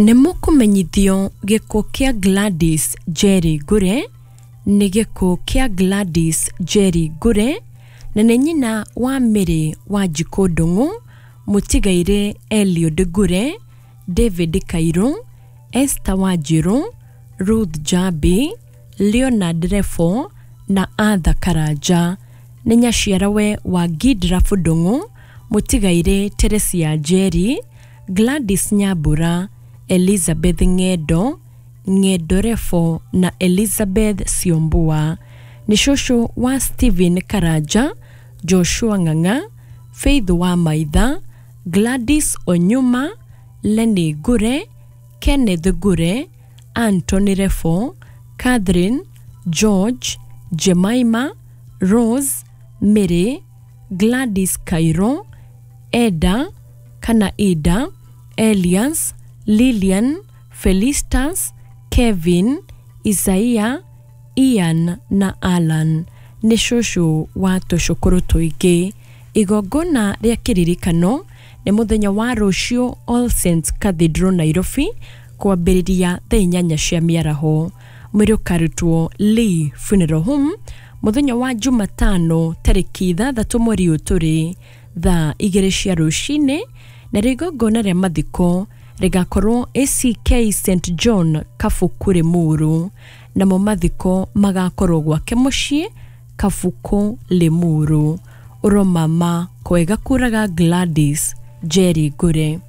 Nĩ mũkũmenyithio gĩkuũ kĩa Gladys Njeri Ngure. Nĩ gĩkuũ kĩa Gladys Njeri Ngure, na nĩ nyina wa Mary Wanjikũ Ndung'u, mũtigairĩ Eliud Ngure, David Kairũ, Esther Wanjiru, Ruth Njambi, Leonard Refo na Arthur Karanja. Nĩ nyaciarawe wa Gidraf Ndung'u, mũtigairĩ Teresia Njeri, Gladys Nyambura, Elizabeth Ng'endo, Ng'endo Refo na Elizabeth Siombua. Nĩ cũcũ wa Stephen Karanja, Joshua Ng'ang'a, Faith wa Maitha, Gladys Onyuma, Lenny Ngure, Kenneth Ngure, Anthony Refo, Catherine, George, Jemima, Rose, Mary, Gladys Kairo, Eda kana Ida, Elias, Lilian, Felistas, Kevin, Isaiah, Ian na Alan. Nĩ cũcũ wa tũcũkũrũ tũingĩ. Igongona rĩa kĩririkano nĩ mũthenya wa rũciũ All Saints Cathedral Nairobi, kwambĩrĩria thaa 8 cia mĩaraho. Mwĩrĩ ũkarutwo Lee Funeral Home mũthenya wa Jumatano tarĩki 6 mweri ũyũ tũrĩ, thaa 2 cia rũcinĩ, na igongona rĩa mathiko rĩgakorwo ACK St John Kabuku Limuru, namo mathiko magakorwo gwake mũciĩ Kabuku Limuru. Ũromama kwega kũraga Gladys Njeri Ngure.